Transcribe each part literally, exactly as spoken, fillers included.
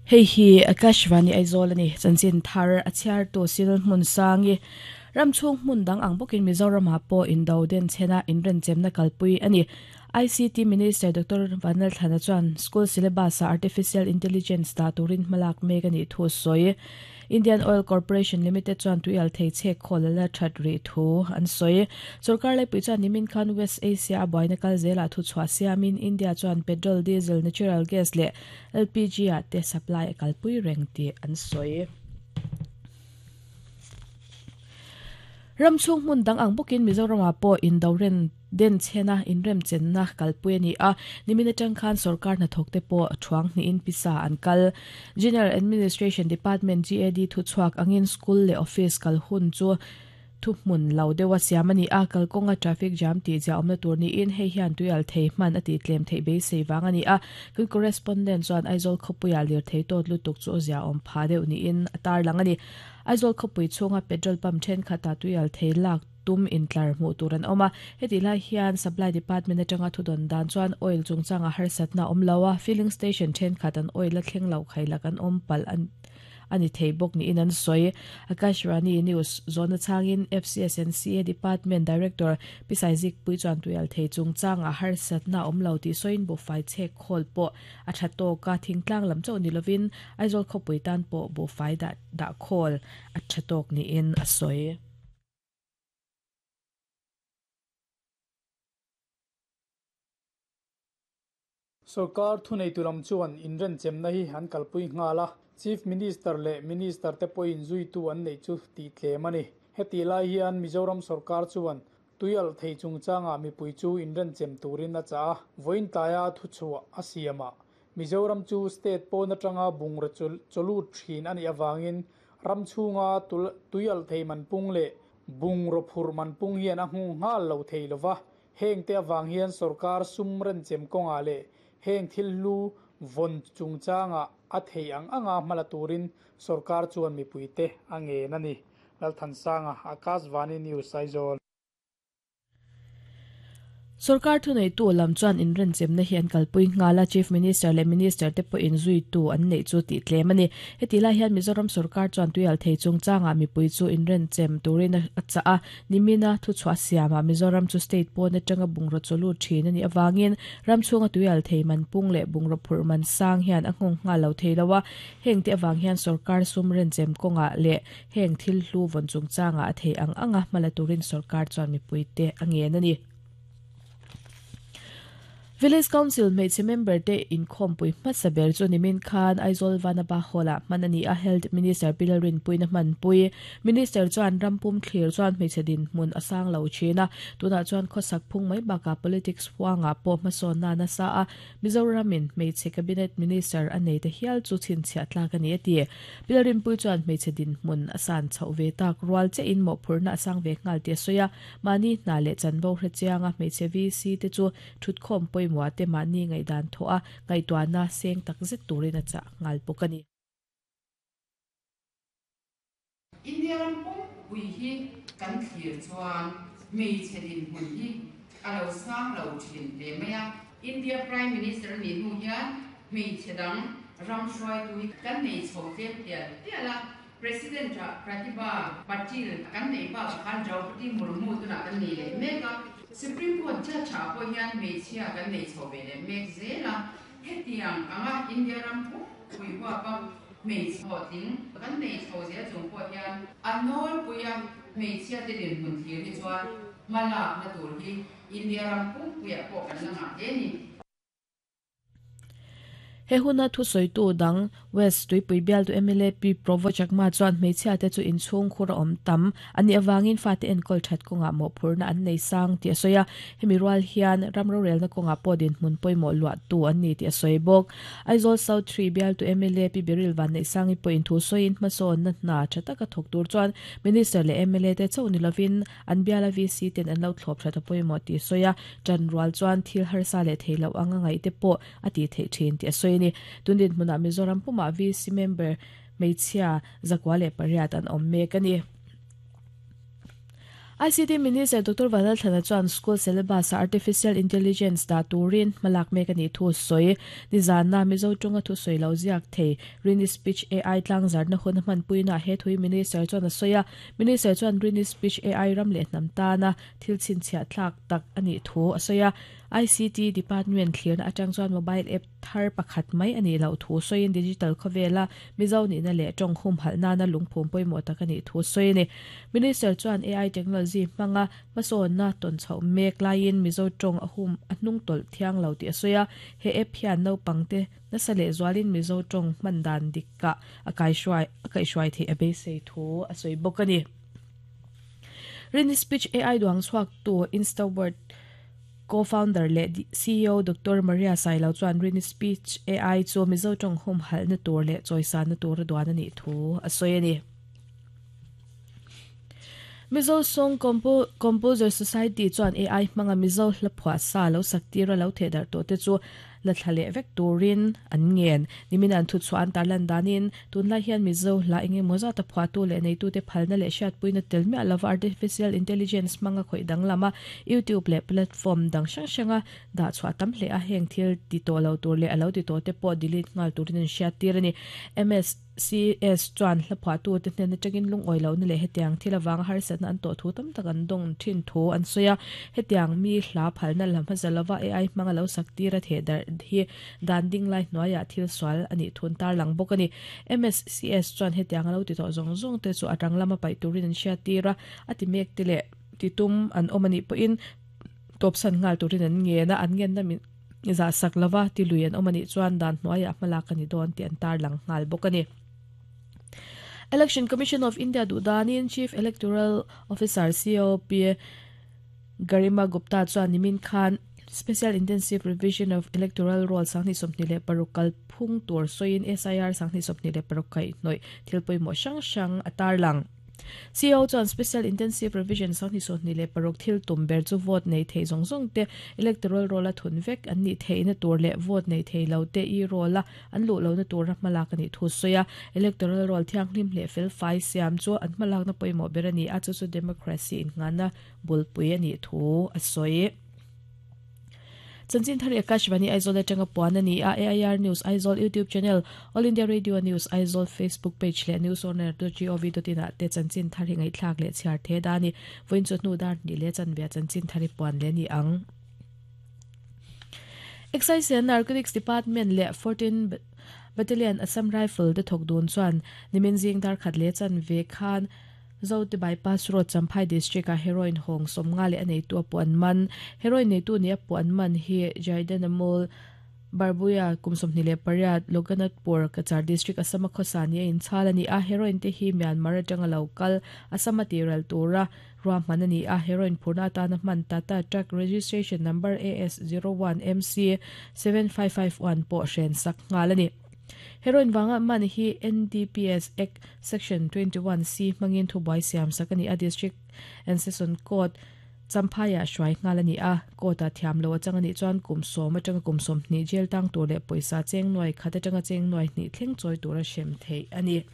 Hei hi Akashvani Aizawl ani chanchin thar a chhiar tu sil hmun sangi ramchhung hmun dang ang bawkin Mizoram ah pawh indo den chhena inrenchem na kalpui ani. I C T Minister Doctor Vanal Thana chuan school syllabus a artificial intelligence ta turin hmalak mek ani thu sawi. Indian Oil Corporation Limited chuan tuial thei chhe kholala that ri thu an sawi. Sarkar lai pui chuan nimin khan West Asia a buaina kal zela thu chhuah siamin India chuan petrol, diesel, natural gas leh L P G a te supply a kalpui reng ti an sawi. Ramchhung hmun dang ang bawkin Mizoram ah pawh indoren den chhena inrem chenna kalpui ani a nimin atang khan sarkar hnathawk te pawh thuang hnihin pisa an kal. General Administration Department G A D thu chhuak angin school leh office kal hun chu thu hmun lo deuha siam ani a kalkawnga traffic jam tih zia awmna tur niin hei hian tuial thei hman a tih tlem theih beisei wang ani a kan correspondent chuan Aizawl khawpuia lir thei tawt lutuk chu zia awm pha deuh niin a tar lang ani. Aizawl khawpui chhunga petrol pump thenkhat ah tuial thei lak tum intlar hmuh tur an awm a heti lai hian supply department atanga thudon dan chuan oil chungchanga harsatna awm lo a filling station thenkhat an oil a thleng lo khailak an awm pal an ani thei bawk niin an sawi. Akashvani News zona changin F C S N C A Department Director Pisaizik pui chuan tuial thei chungchanga harsatna awm lo tih sawiin buhfai chhek khawl pawh a tha tawk a thingtlang lam chauh ni lovin Aizawl khawpui tan pawh buhfai dah dah khawl a tha tawk niin a sawi. Sarkar thunei tulam chuan inren chemna hi an kalpui ngala Chief Minister le Minister te pawhin zui tu an nei chu ti tlem ani. Heti lai hian Mizoram sarkar chuan tuial thei chungchanga mipui chu inren chem turin a cha a vawiin tlaia thu chhuah a siama Mizoram chu state pawn atanga bungra chawlu thin ani awangin ramchhunga tuial thei manpung leh bungraw phur manpung hian a hmu nghal lo thei lova heng te awang hian sarkar sum ren chem kawnga leh heng thil lu von chungchanga a thei ang anga hmala turin sarkar chuan mipui te a ngen ani. Lalthansanga Akashvani News Aizawl. Sarkar thunei tu lam chuan inren chemna hian kalpui ngala Chief Minister leh Minister te pawh in zui tu an nei chu tih tlem ani. Heti lai hian Mizoram sarkar chuan tuial thei chungchanga mipui chu inren chem turin a cha a nimina thu chhuah siama Mizoram chu state pawn atanga bungraw chawlu thin ani awangin ramchhunga tuial thei manpung leh bungraw phur man sang hian a nghawng nghal lo thei lo a heng te awang hian sarkar sum ren chem kawnga leh heng thil hlu vawn chungchanga a thei ang anga hmala turin sarkar chuan mipui te a ngen ani. Village Council hmeichhe member te inkhawmpui hmasa ber chu nimin khan Aizawl Vanapa Hall ah hman ani a Health Minister Pilalrin puina hmanpui. Minister chuan rampum thlir chuan hmeichhe din hmun a sang lo thin a tunah chuan khawsak phung mai bakah politics huanga pawh hmasawn na nasa a Mizoramin hmeichhe cabinet minister a nei te hial chu chhinchhiah tlak ani a ti. Pilalrin pui chuan hmeichhe din hmun a san chhoh ve tak rual che in mawhphurna a sang ve nghal ti a sawi a mahni hna leh chanvo hre chianga hmeichhe V C te chu thutkhawm pawimawh te mahni ngaihdan thaw a ngaihtuahna seng tak zet turin a chah nghal bawk ani. India rampum pui hi kan thlir chuan hmeichhe din hmun hi a lo sang lo thin hle mai a. India Prime Minister ni hnu hian hmeichhe dang ram hruai tu hi kan nei chho tlem tial tial a President Pratibha Patil kan nei pa khan Draupadi Murmu tuna kan nei leh mek a Supreme Court judge ah pawh hian hmeichhia kan nei chho ve leh mek zela hetiang anga India rampum pui huapa hmeichhe hlawhtling kan nei chho zel chung pawh hian a nawlpuia hmeichhia te din hmun thlir hi chuan hmalak na tur hi India rampum puiah pawh kan la ngah hle ni. He huna thu sawitu dang West Tuipui bial tu M L A P Provo Chakma chuan hmeichhia te chu inchhung khur a awm tam ani awangin fa te enkawl that kawnga mawhphurna an nei sang ti a sawi a hemi rual hian ramro relna kawnga pawh din hmun pawimawh luah tu an ni ti a sawi bawk. Aizawl South three bial tu M L A P Biril van nei sangi pawh in thu sawiin hmasawn na hna tha taka thawk tur chuan Minister leh M L A te chauh ni lovin an biala V C ten an lo thlawp that a pawimawh ti a sawi a tan rual chuan thil harsa leh thei lo anga ngaih te pawh a ti theih thin ti a sawi ni. Tundin hmunah Mizoram puma V C member hmeichhia zakwa leh pariat an awm mek ani. I C T Minister Doctor Vanlalthlana chuan school syllabus artificial intelligence da turin malak mek ani thu soi nizana Mizo tunga thu soi lo ziak thei Rini Speech A I tlang zarna hun man puina he thui Minister chuan a soya Minister chuan Rini Speech A I ram le hnam ta na thil chin chhia thlak tak ani thu a soya I C T Department thlir atang chuan mobile app thar pakhat mai ani lo thu soin digital khovela Mizo ni na le tong hum halna na lungphum poimo tak ani thu soi ni Minister chuan A I technology manga mason na ton chho mek lain Mizo tong a hum a hnung tol thiang lo ti soya he app hian no pangte na sale zwalin Mizo tong mandan dikka akai shwai akai shwai the abe sei thu a soi bokani Rini Speech A I duang chuak tu Instaword co-founder le C E O Doctor Maria Sailo chuan Rini Speech A I chu Mizo tong hum hal na tur le choisa na tur duan ani thu a soi ani Mizo Song Compo Composer Society chuan A I manga Mizo hlaphwa sa lo saktira lo thedar to te chu la thlale vek turin an ngen nimin an thu chuan tarlan danin tunlai hian Mizo la enge moza ta phwa tu le nei tu te phalna le shat puina telmi alava artificial intelligence manga khoi dang lama YouTube le platform dang sang sanga da chwa tam hle a heng thil ti to lo tur le alo ti to te po delete ngal turin an shat tir ani M S C S chuan hlaphwa tu te hnen atangin lung oi lo na le hetiang thil awang har san an to thu tam tak an dong thin thu an soya hetiang mi hla phalna lam hazalova A I manga lo saktira thedar hi danding lai noya thil swal ani thun tar lang bok ani M S C S chuan hetiang lo ti to zong zong te chu atang lama pai turin an hria tira ati mek te le titum an omani po in top san ngal turin an nge na an ngen na min za sak lova ti luian omani chuan dan noya hmalak ani don ti an tar lang ngal bok ani Election Commission of India dudanin Chief Electoral Officer C O P Garima Gupta chuan nimin khan Special Intensive Revision of Electoral Roll sangni somni le parukal phung tur soin S I R sangni somni le parukai noi thilpoi mo sang sang atar lang C O chuan Special Intensive Revision sangni somni le paruk thil tum ber chu vote nei thei zong zong te electoral roll a thun vek an ni thei na tur le vote nei thei lo te i roll a an lu lo na tur malak ani thu soya electoral roll thiang hlim le fel fai siam chu an malak na poimo berani a chu chu democracy in ngana bulpui ani thu a soi Chanchin Thari Akashvani Aizawl atanga puan ani a A I R News Aizawl YouTube channel All India Radio News Aizawl Facebook page le news on air dot gov dot in te Chanchin Thari ngai thlak le chhiar the dani voin chu nu dar ni le chanbia Chanchin Thari puan le ni ang Excise and Narcotics Department le fourteen Battalion Assam Rifle de thok dun chuan nimin jing dar khat le chan ve khan Zote bypass road Champhai district a heroin hong somnga le anei tu apuan man heroin nei tu ni apuan man hi Jaidanamol Barbuya kumsomni le pariat Loganatpur Cachar district Assam khosani in chalani a heroin te hi Myanmar atanga local Assam tiral tura ruahman ani a heroin phurna ta na man tata truck registration number A S zero one M C seven five five one po hren sak ngalani Heroin wanga man hi N D P S Act Section twenty-one C mangin thubai siam sakani a district and session court Champhaya shwai ngalani a kota thiam lo changani chuan kumsom atanga kumsom ni jail tang tur le poisa cheng noi khata tanga cheng noi ni thleng choi tura shem thei ani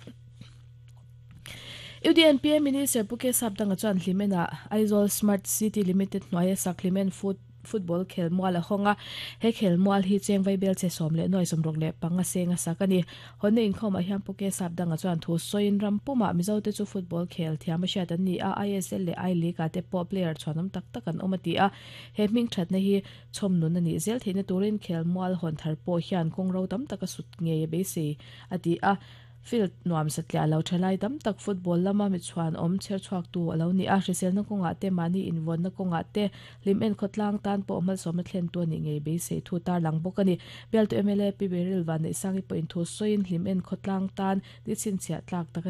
U D N P M Minister Puke Sapdanga chuan hlimena Aizawl Smart City Limited noya saklimen food football khel mual a honga he khel mual hi cheng vai bel che som le noi som rok le panga senga sakani honne in khoma hiam Puke Sapdanga chuan thu soin ram puma Mizo te chu football khel thiam sha tan ni a I S L le I League ate po player chhanam tak tak an omati a he ming that na hi chhom nun ani zel theina turin khel mual hon thar po hian kong ro tam taka sut nge be se ati a field nuam satlia lo thalai tam tak football lama mi chuan om cher chuak tu alo ni a hrisel na konga te mani inwon na konga te lim en khotlang tan po mal som thlen tu ni ngei be se thu tar lang bok ani bel to M L A P Beril van nei sangi point thu soin lim en khotlang tan ni chin chia tlak tak